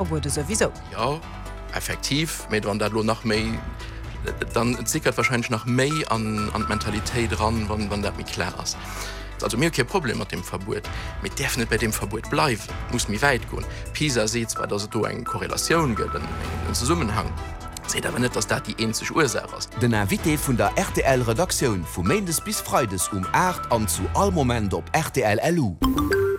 Verbuede souwisou. Jo, effektiv, mee wann dat elo nach méi, dann et sickert wahrscheinlech nach méi an an d'Mentalitéit eran, wann wann dat méi klar ass. Also mir hu kee Problem mat deem Verbuet, mee et däerf net bei deem Verbuet bleiwen, et muss méi wäit goen. PISA seet zwar, datt et do eng Korrelatioun gëtt, en Zesummenhang, seet awer net, datt dat déi eenzeg Ursaach ass. Den Invité vun der rtl Redaktioun vu Méindes bis Freides um 8 an zu all Moment op rtl LU.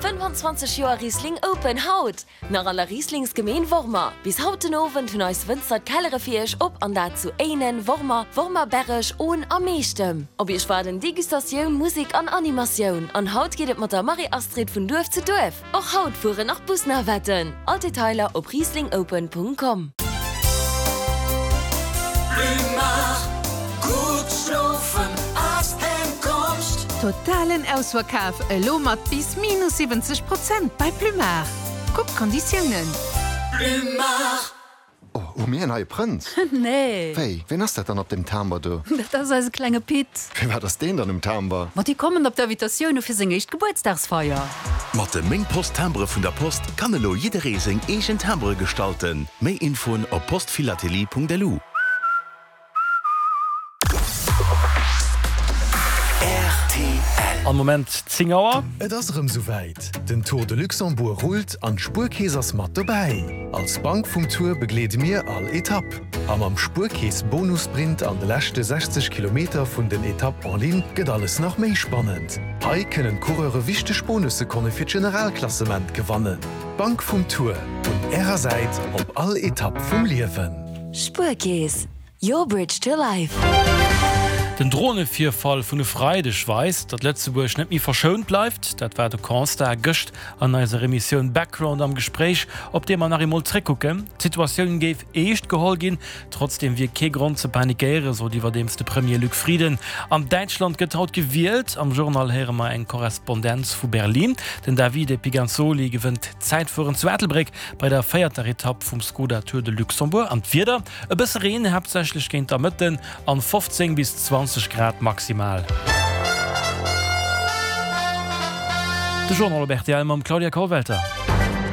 25 Joer Riesling Open haut Nach an der Rieslingsgemeen Wormer. Bis haut den Owend hunn eis Wënzer d'Kellere fir iech op an dat zu Éinen, Wormer, Wormer-Berreg, Ohn a Meechtem. Op iech waarden Degustatioun, Musek an Animatioun. An haut geet et mat der Marie-Astrid vun Duerf zu Duerf. Och haut fueren nach Busnavetten. All d'Detailer op rieslingopen.com. Totalen Ausverkaf elo mat bis minus 70 Prozent bei Plumard. Kuck d'Konditiounen. Plumard. Oh, hu mir en neie Prënz? Nee. Wéi, ween ass dat dann op deem Timber do? Dat ass eise klenge Pit. Firwat ass deen dann um Timber? Ma déi kommen op d'Invitatioune fir seng éischt Gebuertsdagsfeier. Mat de Meng Post Timbere vun der Post kann elo jidderee seng eegen Timbere gestalten. Méi Infoen op postphilatelie.lu. Am Moment 10 Auer. Et ass erëm souwäit, den Tour de Luxembourg rullt an d'Spuerkeess ass mat dobäi! Als Bank vum Tour begleede mir all Etapp. A mam Spuerkeess Bonussprint an de leschte 60 Kilometer vun den Etapp en ligne gëtt alles nach méi spannend. Hei kënnen d'Coureure wichteg Bonussekonne fir d'Generalklassement gewannen. D'Bank vum Tour, un Ärer Säit op all Etapp vum Liewen. Spuerkeess, your bridge to life. Den Dronevirfall vun e Freideg weist, datt Lëtzebuerg net méi verschount bleift. Dat war de Constat gëscht an eiser Emissioun Background am Gespréich, op dee mer nach eemol zréckkucken. D'Situatioun géif eescht geholl ginn, trotzdeem wier kee Grond ze panikéieren, sot iwwerdeems de Premier Luc Frieden. An Däitschland gëtt haut gewielt. Am Journal héiere mer eng Korrespondenz vu Berlin. Den Davide Piganzoli gewënnt d'Zäitfueren zu Ettelbréck. Bei der véierter Etapp vum Skoda Tour de Luxembourg an d'Wieder, e bësse Reen, haaptsächlech géint der Mëtten an 15 bis 20 Grad maximal. De Journal op rtl mam Claudia Kollwelter.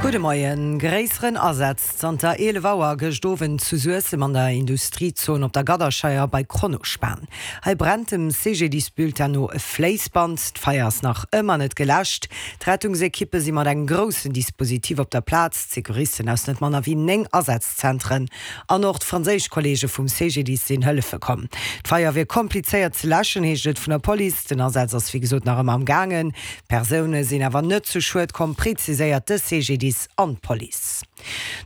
Gudde Moien. Gréisseren Asaz zanter 11 Auer gëscht Owend zu Suessem an der Industriezon op der Gadderscheier bei Kronospan. Hei brennt dem CGDIS-Bulletin no e Fléissband. D'Feier ass nach ëmmer net geläscht. D'Rettungsekippe si mat engem groussen Dispositif op der Plaz, d'Secouristen aus net manner wéi 9 Asazzentren an och d'franséisch Kolleege vum CGDIS sinn hëllefe komm. D'Feier wier komplizéiert ze läschen, heescht et vun der Police. Den Asaz ass wéi gesot nach ëmmer am gaangen. Persoune sinn awer net zu Schued komm, preziséiert de CGDIS an d'Police.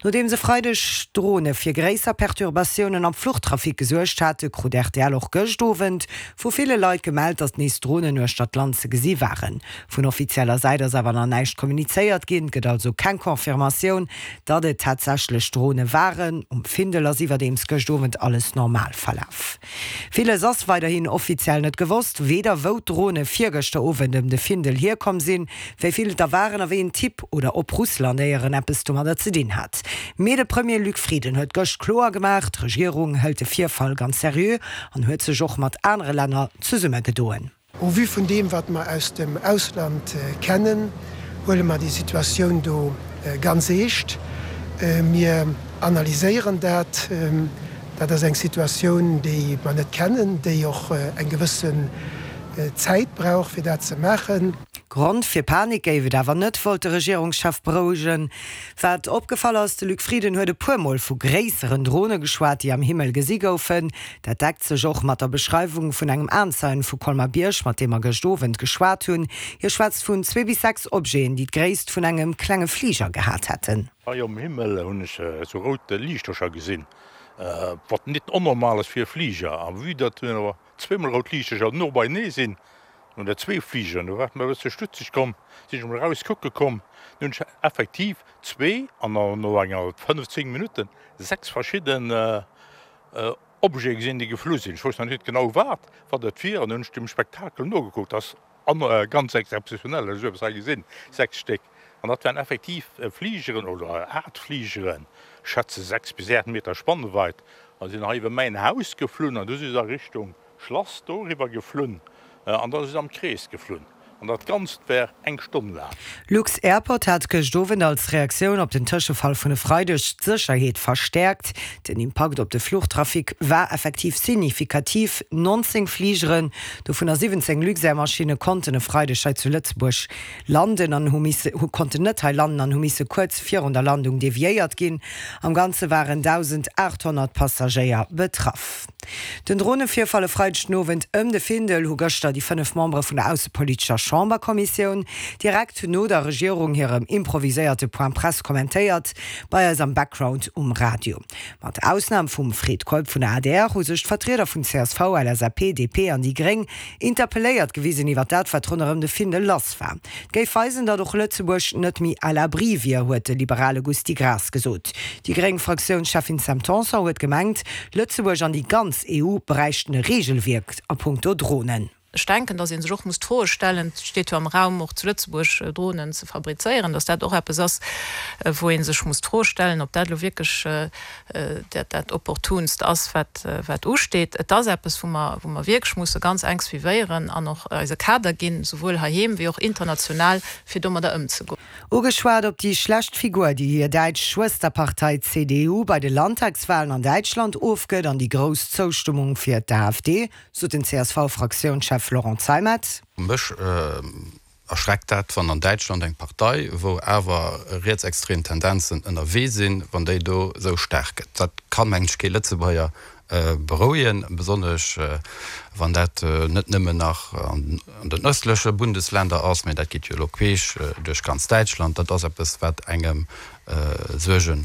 Nodeems e Freideg Drone fir gréisser Perturbatiounen am Fluchtrafic gesuergt hate, krut rtl och gëscht Owend vu ville Leit gemellt, datt nees Dronen uechter d'Land ze gesi waren. Vun offizieller Säit ass awer nach näischt kommunizéiert ginn, et gëtt also keng Confirmatioun, datt et tatsächlech Drone waren. Um Findel ass iwwerdeems gëscht Owend alles normal verlaf. Villes ass weiderhin offiziell net gewosst, weder wou d'Drone virgëschter Owend ëm de Findel hierkomm sinn, wéi vill et der waren a wéi een Typ oder ob Russland éieren eppes domadder ze dinn hat. Mee de Premier Luc Frieden huet gëscht kloer gemaach, d'Regierung hëlt de Virfall ganz seriö an huet sech och mat anere Länner zesummegedoen. Au vu vun deem, wat mer aus dem Ausland kennen, huele mer déi Situatioun do ganz eescht. Mir analyséieren dat. Dat ass eng Situatioun, déi mer net kennen, déi och eng gewëssen Zäit brauch, fir dat ze maachen. Grond fir Panik géif et awer net, wollt de Regierungschef berouegen. Wat opgefall ass, de Luc Frieden huet e puer Mol vu gréisseren Drone geschwat, déi am Himmel gesi goufen. Dat deckt sech och mat der Beschreiwung vun engem Aenzeien vu Colmar-Bierg, mat deem mer gëscht Owend geschwat hunn. Hie schwätzt vun zwee bis 6 Objeten, déi d'Gréisst vun engem klenge Fliger gehat hätten. Hei um Himmel hunn ech esou rout Liichtercher gesinn, wat nit onnormal ass fir e Fliger. A vue datt awer zweemol rout Liichtercher no beienee sinn, oder zwee Fligeren, do war et mer e bësse stutzeg komm, sinn ech emol eraus kucke komm, du hunn ech effektiv zwee an no enger 15 Minutten 6 verschidden Objete gesinn, déi geflu sinn. Ech wousst nach net genau wat wat et wier an hunn ech dem Spektakel nogekuckt. Dat ass ganz exzeptionell, ech hu esou eppes hei gesinn, 6 Stéck. An dat waren effektiv Fligeren oder Aart Fligeren, ech schätze 6 bis 8 Meter Spannweit, a sinn hei iwwer mäin Haus geflunn an du si se a Richtung Schlass doriwwer geflunn an da si se am Krees geflunn. An dat Ganzt war eng Stonn laang. Lux-Airport hat gëscht Owend als Reaktioun op den Tëschefall vun e Freideg d'Sécherheet verstäerkt. Den Impakt op de Fluchtrafic war effektiv signifikativ, 19 Fligeren, dovunner 17 Luxair-Maschinne konnten e Freideg hei zu Lëtzebuerg landen an hu misse konnten net hei landen an hu misse kuerz virun der Landung deviéiert ginn. Am Ganze waren 1.800 Passagéier betraff. Den Dronevirfall e Freideg den Owend ëm de Findel hu gëschter déi 5 Membere vun der aussepolitescher Chamberkommissioun direkt no der Regierung hirem improviséierte Point Presse kommentéiert bei eis am Background um Radio. Mat Ausnam vum Fred Keup vun der adr hu sech d'Vertrieder vun csv, LSAP, DP an déi Gréng interpelléiert gewisen iwwer dat, wat ronderëm de Findel lass war. Et géif weisen, datt och Lëtzebuerg net méi à l'abri wier, huet de liberale Gusty Graas gesot. Déi gréng Fraktiounscheffin Sam Tanson huet gemengt, Lëtzebuerg an déi ganz EU bräichten e Reegelwierk a punkto Dronen. Ech denken, datt ee sech och muss d'Froe stellen, et steet jo am Raum, och zu Lëtzebuerg Dronen ze fabrizéieren, datt dat och eppes ass, wou ee sech muss d'Fro stellen, ob dat elo wierklech dat dat Opportunst ass, wat wat usteet. Et ass eppes, wou mer wou mer wierklech musse ganz enk suivéieren an och eis e Kader ginn, souwuel heiheem wéi och international, fir domadder ëmzegoen. Ugeschwat op déi schlecht Figur, déi hir däitsch Schwësterpartei CDU bei de Landtagswalen an Däitschland ofgëtt an déi grouss Zoustëmmung fir d'AfD, sot den CSV-Fraktiounschef Laurent Zeimet. Mech Erschreckt dat, wann an Däitschland eng Partei, wou awer rietsextrem Tendenzen ënnerwee sinn, wann déi do esou staark gëtt. Dat ka mengen ech kee Lëtzebuerger berouegen, besonnesch wann dat net nëmmen nach an den ëstleche Bundesländer ass, mä dat geet jo elo queesch duerch ganz Däitschland. Dat ass eppes, wat engem Suerge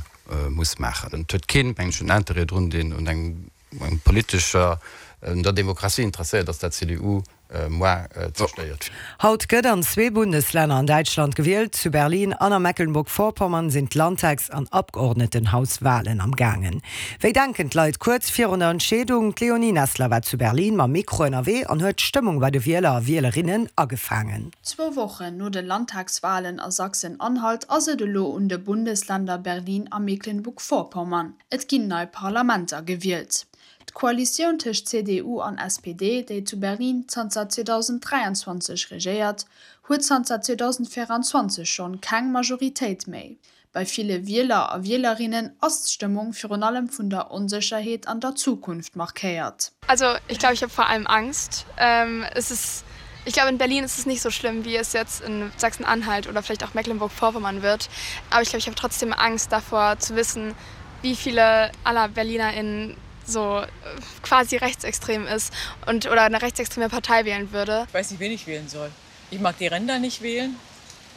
muss maachen. Et huet keen, mengen ech, en Interêt drun, deen un engem politescher, un der Demokratie interesséiert ass, dat d'CDU Mois zerstéiert. Haut gëtt an zwee Bundeslänner an Däitschland gewielt. Zu Berlin an a Mecklenburg-Vorpommern sinn d'Landtags an Abgeordnetenhauswalen am gaangen. Wéi denken d'Leit kuerz virun der Entscheedung? D'Leonie Nessler war zu Berlin mam Mikro ënnerwee an huet d'Stëmmung bei de Wieler a Wielerinnen agefaangen. Zwou Wochen no de Landtagswalen a Sachsen-Anhalt ass et elo un de Bundesländer Berlin a Mecklenburg-Vorpommern. Et ginn nei Parlamenter gewielt. D'Koalitioun tëscht CDU an SPD, déi zu Berlin zanter 2023 regéiert, huet zanter 2024 schonn keng Majoritéit méi. Bei ville Wieler a Wielerinnen ass d'Stëmmung virun allem vun der Onsécherheet an der Zukunft markéiert. Also ich glaube, ich habe vor allem Angst. Es ist, ich glaube in Berlin ist es nicht so schlimm, wie es jetzt in Sachsen-Anhalt oder vielleicht auch Mecklenburg-Vorpommern wird. Aber ich glaube, ich habe trotzdem Angst davor zu wissen, wie viele aller BerlinerInnen so quasi rechtsextrem ist und oder eine rechtsextreme Partei wählen würde. Ich weiß nicht, wen ich wählen soll. Ich mag die Ränder nicht wählen,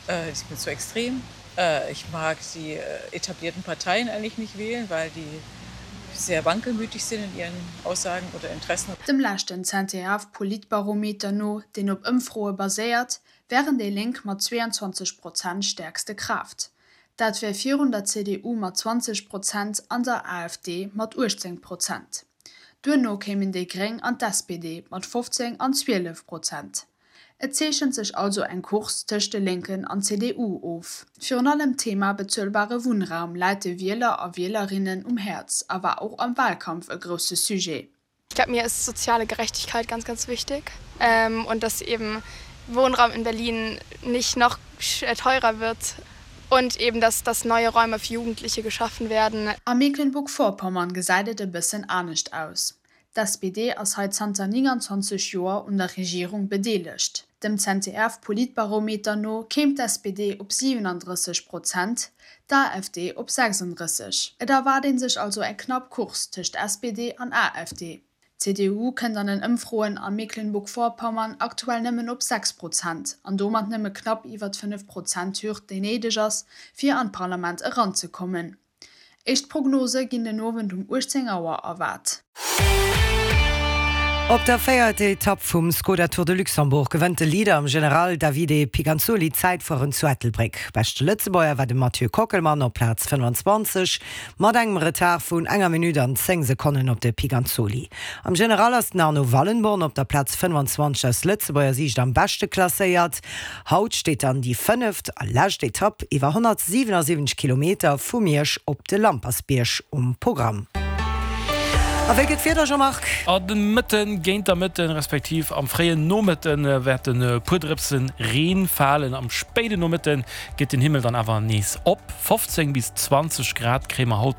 äh, ist mir zu extrem. Äh, ich mag die äh, etablierten Parteien eigentlich nicht wählen, weil die sehr wankelmütig sind in ihren Aussagen oder Interessen. Dem leschten ZDF-Politbarometer no, deen op Ëmfroe baséiert, wären déi Lénk mat 22 Prozent stäerkste Kraaft. Dat wär virun der CDU mat 20 Prozent an der AfD mat 18 Prozent. Duerno kéimen déi Gréng an d'SPD mat 15 an 12 Prozent. Et zeechent sech also eng Course tëscht de Lénken an CDU of. Virun allem d'Thema bezuelbare Wunnraum läit de Wieler a Wielerinnen um Häerz a war och am Walkampf e grousse Sujet. Ich glaube, mir ist soziale Gerechtigkeit ganz, ganz wichtig ähm, und dass eben Wohnraum in Berlin nicht noch äh, teurer wird und eben dass, dass neue Räume für Jugendliche geschaffen werden. A Mecklenburg-Vorpommern gesäit et e bëssen anescht aus. D'SPD ass hei zanter 29 Joer un der Regierung bedeelegt. Dem ZDF-Politbarometer no kéim d'SPD op 37 Prozent, d'AfD op 36. Et erwaart ee sech also eng knapp Course tëscht SPD an AfD. D'CDU kënnt an den Ëmfroen a Mecklenburg-Vorpommern aktuell nëmmen op 6 Prozent an domat nëmme knapp iwwer d'Fënnef Prozent-Hürd, déi néideg ass, fir an d'Parlament eranzekommen. Éischt Prognose ginn den Owend um 18 Auer erwaart. Op der véierter Etapp vum Skoda Tour de Luxembourg gewënnt de Leader am General Davide Piganzoli d'Zäitfueren zu Ettelbréck. Beschte Lëtzebuerger war de Mathieu Kockelmann op Plaz 25 mat engem Retard vun enger Minutt an 10 Sekonnen op de Piganzoli. Am General ass den Arno Wallenborn op der Plaz 25 aus Lëtzebuerger Siicht am beschte klasséiert. Haut steet dann déi fënneft a lescht Etapp iwwer 177 Kilometer vu Miersch op de Lampersbierg um Programm. A wéi gëtt d'Wieder, Jean-Marc? A de Mëtten, géint der Mëtten, respektiv am fréien Nomëtte wäerten e puer Drëpse Reen falen. Am spéiden Nomëtte geet den Himmel dann awer nees op. 15 bis 20 Grad kréie mer haut.